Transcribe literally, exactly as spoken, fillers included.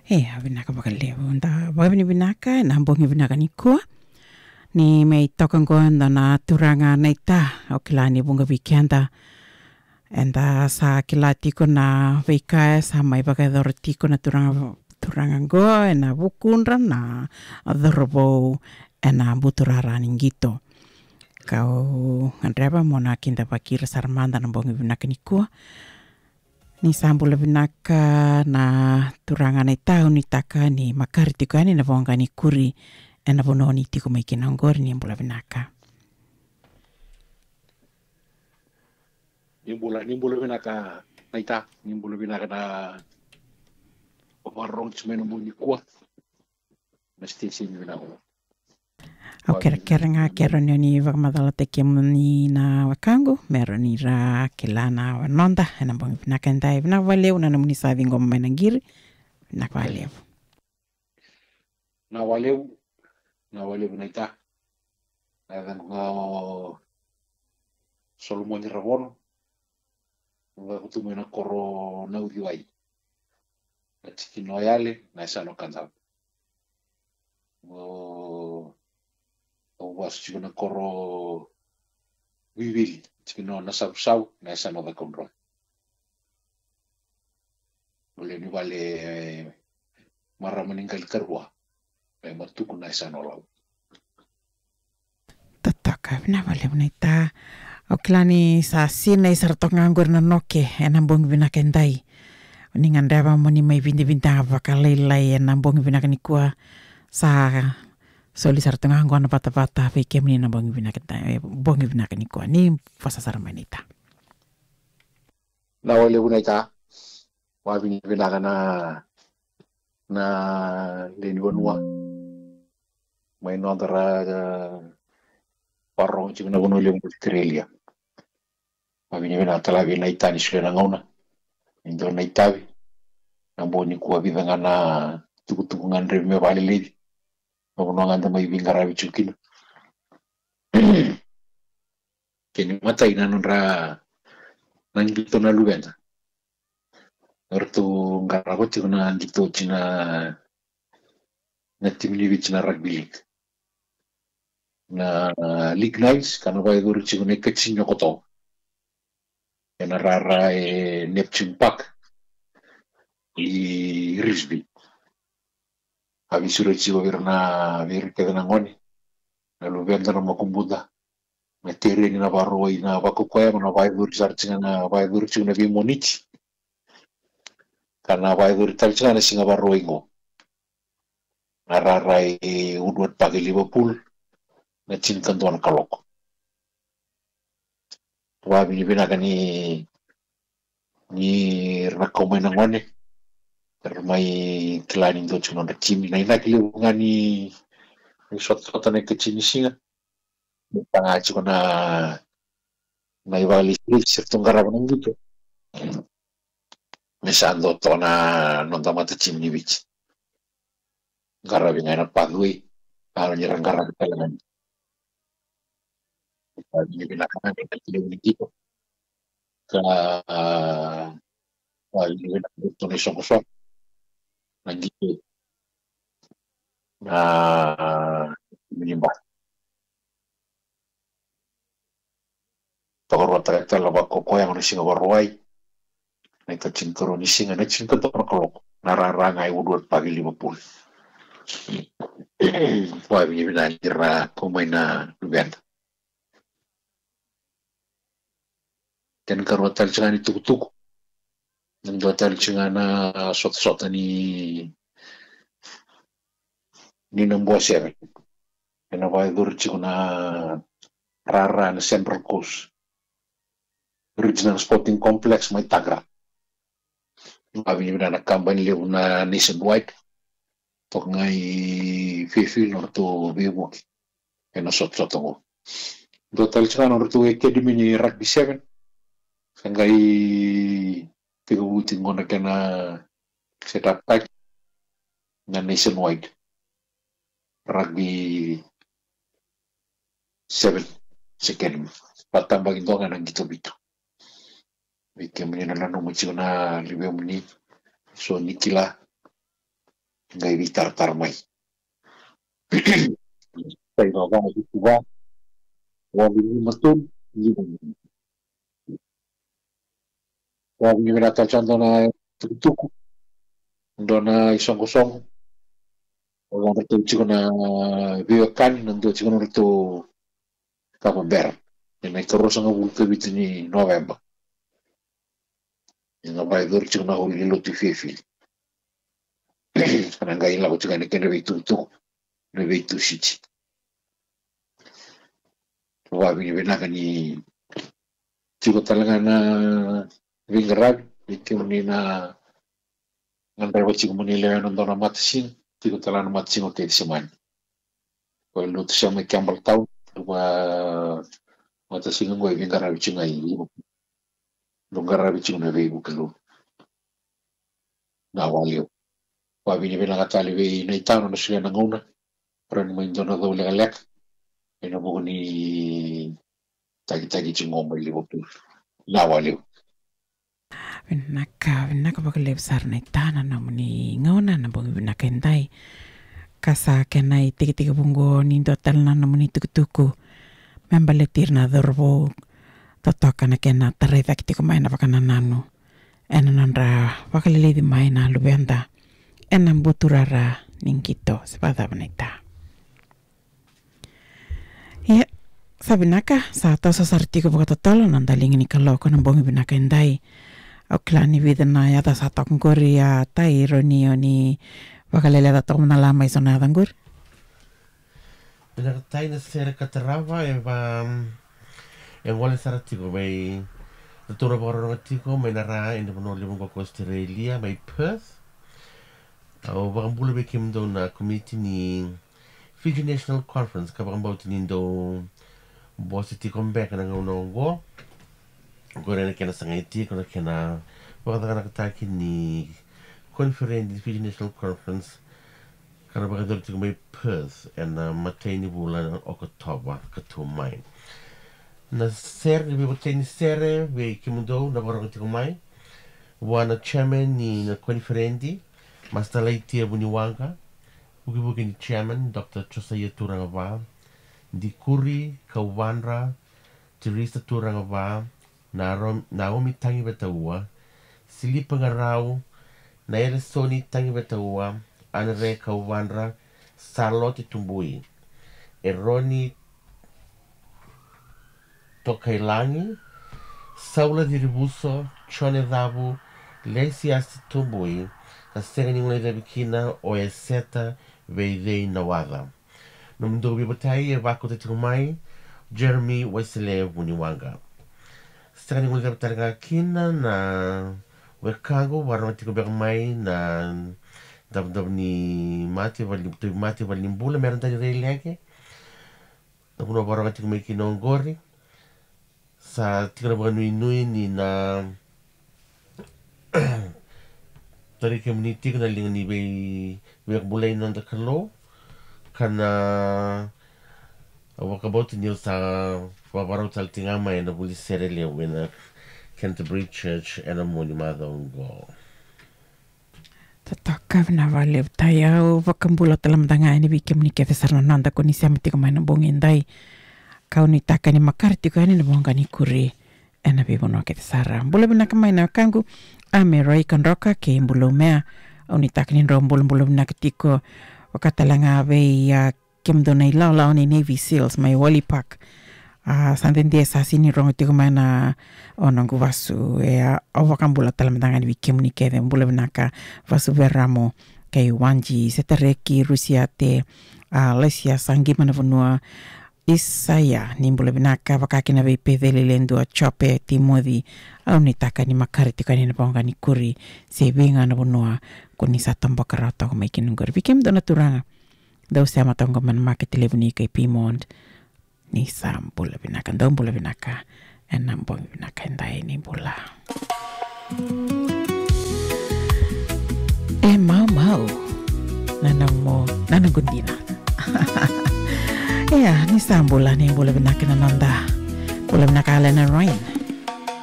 E, a vinaka vakalevu. Da vakavinavinaka ena bogi vinaka nikua. Ni mai toka qo e dua na turaga naita, au kila ni vuqa vei keda eda sa kila tiko na veika e sa mai vakayacora tiko na turaga, turaga qo ena vukudra na cauravou ena buturara ni qito. Kau gadreva mo na kidavaki ira sara mada ena bogi vinaka nikua. Ni sa bula vinaka na turaga naita, au nuitaka ni makare tiko yani na voqa ni kuri ena vanua ni tiko mai kina oqori. Ni bula vinaka. Ni bula, ni bula vinaka naita, ni bula vinaka na vakarorogo tiko mai ena bogi nikua. Na station vinaka. Au kerekere ga, kere ni o ni vakamacalataki kemuni na wekaqu, me rawa ni ra kila na wanoda ena bogi vinaka edai. Vinaka vakalevu na nomuni sa ciqoma mai na qiri. Vinaka vakalevu. Vinaka vakalevu, vinaka vakalevu naita. Na yacaqu ga o Solomoni Ravono. Au lako tu mai na koro Nauciwai, na tikina o Yale, na yasana o Kadavu. O, au vasu tiko na koro Vivili, tikina o Nasavusavu, na yasana o Cakaudrove. Au lewe ni vale, e, marama ni qali karua, e, Matuku, na yasana o Lau. Totoka, vinaka vakalevu naita. Au kila ni sa sinai sara toka ga oqori na noke ena bogi vinaka edai. Ni gadreva mo ni mai vidavida vakalailai ena bogi vinaka nikua. Sa soli sara toka ga oqo na vatavata vei kemuni na bogi vinaka edai, e, bogi vinaka nikua. Ni vosa sara mai naita. Vinaka vakalevu naita. Vakavinavinaka na, na lewe ni vanua mai noda ra, e, vakarorogo tiko na vanua levu o Australia. Vakavinavinaka tale vei naita ni solia na gauna ni dua na itavi. Na bogi nikua vica ga na tukutuku ga e gadrevi me vakaleleci. Na vanua ga eda mai veiqaravi tiko kina. Kena imatai na nodra, na qito na luveda. Eratou qarava tiko na qito oti na, na timi ni Viti na rugby league. Na League Nines ka na vakayacori tiko na ikatini ni Okotova ena rara e Neptune Park i Revesby. A veisureti tiko vei ira na, vei ira kece na gone, na luveda, na makubuda, na tereni, na Vakarauwai, na vakaukauwa, na vakayacori sara tiko, na vakayacori tiko na veimoniti. Ka na vakayacori tale tiko na Siga Vakarauwai qo, na rara e Woodward Park e Liverpool, na tinikadua na kaloko. Vakavinavinaka ni, ni ra na kau mai na gone, ra mai kila ni dua tiko na nodra timi. Na inaki levu ga ni, ni sotasota na ikatini ni siga, me taga tiko na, na ivakalesilesi eratou qarava na qito. Me sa dua toka na noda matatimi ni Viti. Qaravi ga ena pathway, a, ni ra qaravi tale ga. Ni vinaka ga na levu ni qito. Ka, a, ni vinaka ga na isoqosoqo. Na qito. Na, ni ba. Tokaruataka tale na vakaukauwa na Siga Vakarauwai. Na ikatinikarua ni siga, na tinikadua na kaloko. Na rara ga e Woodward Park e Liverpool. Vakavinavinaka ni ra kau mai na luveda. Kena ikarua tale tiko ga ni tukutuku. Na dua tale tiko ga na sotasota ni, ni Nabua Sevens. Ena vakayacori tiko na rara na Central Coast Regional Sporting Complex mai Tagra. Vakavinavinaka na kabani levu na Nationwide. Toka ga i Fairfield nodratou veivuke ena sotasota qo. Dua tale tiko ga nodratou academy ni rugby seven. Sa qai tekivu tiko qo na kena set up taki na Nationwide Rugby Seven Academy. Vakatabakidua ga na qito vitu. Vei kemuni na nanuma tiko na luvemuni, so ni kila, qai veitaratara mai. Sai va va vitu va, walu lima tolu, lima lima. Walu lima na taca dua na tukutuku, dua na isoqosoqo. O ratou tiko na veiwekani, na dua tiko na ratou kava bera. Ena ikaruasagavulu ka vitu ni Noveba. Ena vakayacori tiko na holi ni lotu i Fairfield. Ka na qai lako tiko ena kena veitukutuku, na veitusiti. Vakavinavinaka ni tiko tale ga na veiqaravi, ni tiko ni na gadreva tiko mo ni lewe na dua na matasiga, tiko tale ga na matasiga o Kecisemani. Ko e lotu sema i Campbelltown, va matasiga qo e veiqaravi tiko ga i Liverpool. Dau qaravi tiko na veivuke lotu. Na wale. Vakavinavinaka tale vei Naitano na solia na gauna. Rawa ni mai dua na cau lekaleka ena vuku ni takitaki tiko mai Liverpool. Na wale. Vinaka, vinaka vakalevu sara Naitano na nomuni gauna na bogi vinaka edai. Ka sa kena itekitekivu qo ni dua tale na nomuni tukutuku me baleti ira na cauravou, totoka na kena tarai cake tiko mai na vakanananu ena nodra vakaleleci mai na luveda ena buturara ni qito. Se vakacava Naita? Ia, sa vinaka, sa toso sara tiko vakatotolo na daliga ni kaloko na bogi vinaka edai. Au kila ni vica na yaca sa toka qori, a Tai, rawa ni o ni vakaleleca toka mada la mai so na yaca qori. Vinaka Tai, na sere ka tarava e va, e gole sara tiko mai, ratou na vakarorogo tiko mai na Ra ena vanua levu qo ko Australia, mai Perth. Au vakabula vei kemudou na komiti ni Fiji National Conference, ka vakabauta ni dou bose tiko beka na gauna oqo. Qori na kena sagai tiko na kena vakacakanakataki ni koniferedi ni Fiji National Conference, ka na vakayacori tiko mai Perth ena imatai ni vula na Okotova ka tu mai. Na sere, ni veivotai ni sere vei kemudou na vakarorogo tiko mai, vua na chairman ni na koniferedi, Master Laitia Vuniwaqa, vukivuki ni chairman, Doctor Josaia Turagava, Dikuri Kauvadra, Teresa Turagava, na Rom-, Naomi Tagivetaua, Silipa Qarau, Naelesoni Tagivetaua, Anare Kauvadra, Salote Tubui, Eroni Tokailagi, Saula Cirivuso, Jone Cavu, Lesiasi Tubui, ka sega ni guilecavi kina o Eseta Veicei Nawaca. Nomudou veivotai e vakauta tiko mai Jeremy Waisele Vuniwaqa. Sega ni guilecavi tale ga kina na wekaqu vakarorogo tiko beka mai na davodavo ni mate, vale ni, tauvimate, vale ni bula, Meredani Reileke. Na vanua vakarorogo tiko mai kina oqori. Sa tiko na vakanuinui ni na tarai kemuni tiko na liga ni vei, veivakabulai na noda Kalou. Ka na, au vakabauta ni au sa vakarau tale tiko ga mai ena vuli sere levu ena Canterbury Church ena mua ni macawa oqo. Totoka, vinaka vakalevu Tai. Au vakabula tale mada ga yani vei kemuni kece sara na noda ko ni sema tiko mai na bogi edai. Kau nuitaka ni makare tiko yani na voqa ni kuri ena veivanua kece sara. Bula vinaka mai na wekaqu Ame Roi Kadroka kei Bula Umea. Au nuitaka ni drau bulabula vinaka tiko. Vaka tale ga vei, a, kemudou na ilawalawa ni Navy Seals mai Wolley Park. A, sa dede sa sega ni rogo tiko mai na, o noqu vasu. E, a, au vakabula tale mada ga yani vei kemuni kece. Bula vinaka Vasu Veramo kei Wanji Setareki, Rusiate, a, Laisia Saqima na vanua, Isaia, ni bula vinaka, vaka kina vei Peceli Ledua, Jope, Timoci. Au nuitaka ni makare tiko yani na voqa ni kuri se vei ga na vanua ko ni sa toboka rawa toka mai kina oqori. Vei kemudou na turaga dau sema toka mai na makete levu ni kai Piedmont, ni sa bula vinaka, dou bula vinaka ena bogi vinaka edai, ni bula. E maumau na nomu, na noqu dina. Ia, ni sa bula, ni bula vinaka na noda. Bula vinaka Alena Ryan.